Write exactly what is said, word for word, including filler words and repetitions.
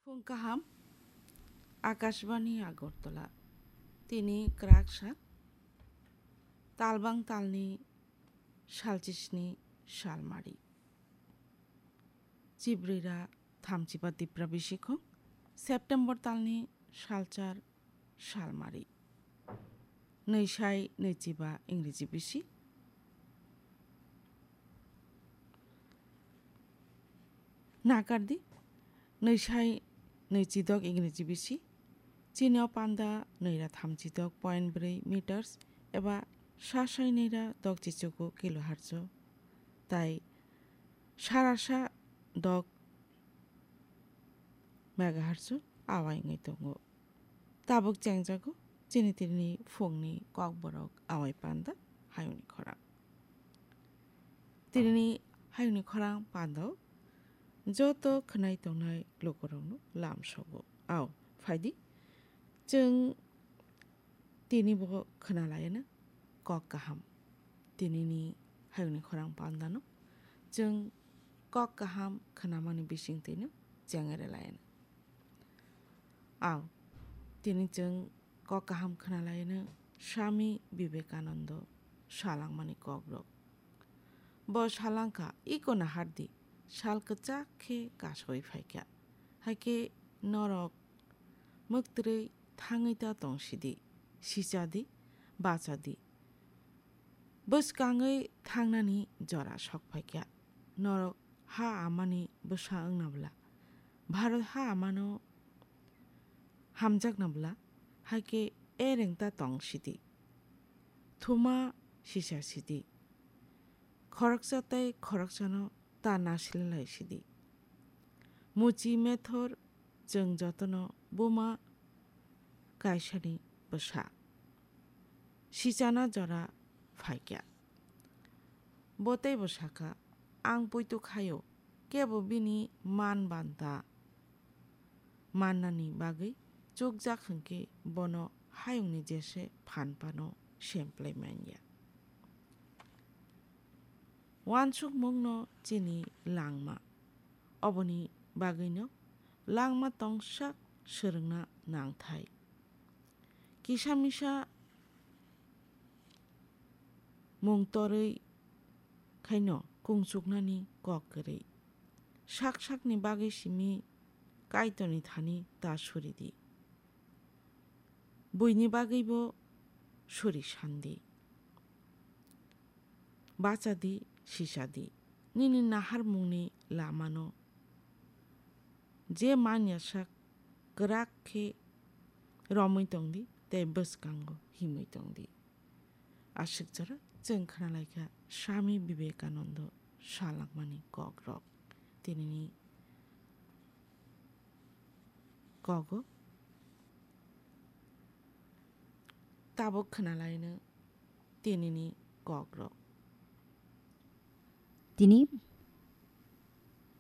Phung kaham, Akashbani Agartala. Tini kwraksa, talbang talni salchisni salmari. Chibrira thamchiba Tipra bisikhung, September talni salchar salmari. Nwisai nwichiba Ingreji bisi. Nakardi, nwisai nwichidok Ingreji bisi. Chini o panda nwira thamchidok point bwrwi meters eba sasai nwira dok chichuku kilohertz o. Tai sarasa dok megahertz o awai wngwi tongo. Tabuk chengjago chini tini phungni kokborok awai panda hayungni khorang. Tini hayungni khorang pandao joto khwnai tongnai lukurokno lamsogo. Ao, phaidi, chwng tini bo khwnalaiyana kok kaham. Tinini hayungni khorang pandano chwng kok kaham khwnamani bisingtwino chengere laiyana. Ao, tini chwng kok kaham khwnalaiyano Swami Vivekananda salangmani kokrok. Bo salangkha, iko nahardi, sal kwchak khe kasoi phaikha. Haikhe norok mwktwrwi thangwi ta tongsidi, sichadi, bachadi. Bwskangwi thangnani jora sok phaikha. Norok ha amani bwsa wngna bwla, Bharat ha amano hamjakna bwla, haikhe ereng ta tong sidi. Thuma sisa sidi. Khoroksa tei khoroksano ta nasilai sidi. Muchi methor chwng jotono buma kaisani bwsa. Sichana jora phaikha. Bo teibo sakha, ang poito khaio, kebo bini man banta mannani bagwi chukjak hwnkhe bono hayungni jese phan phano semplai manya. Uansukmungno chini langma. Oboni bagwino langma tongsak swrwngna nangthai. Kisa misa mung torwi khaino kungchuknani kok kwrwi. Sak sakni bagwi simi Kaitorni thani ta suridi. Buini bagwibo suri sandi. Bachadi, sisadi. Nini naharmungni lamano je manya sak kwrak khe romwi tongdi tei bwskango himwi tongdi. Aswk jora chwng khwnalaikha Swami Vivekananda salangmani kokrok. Tinini kogo tabuk khwnalaino tinini kokrok. Tini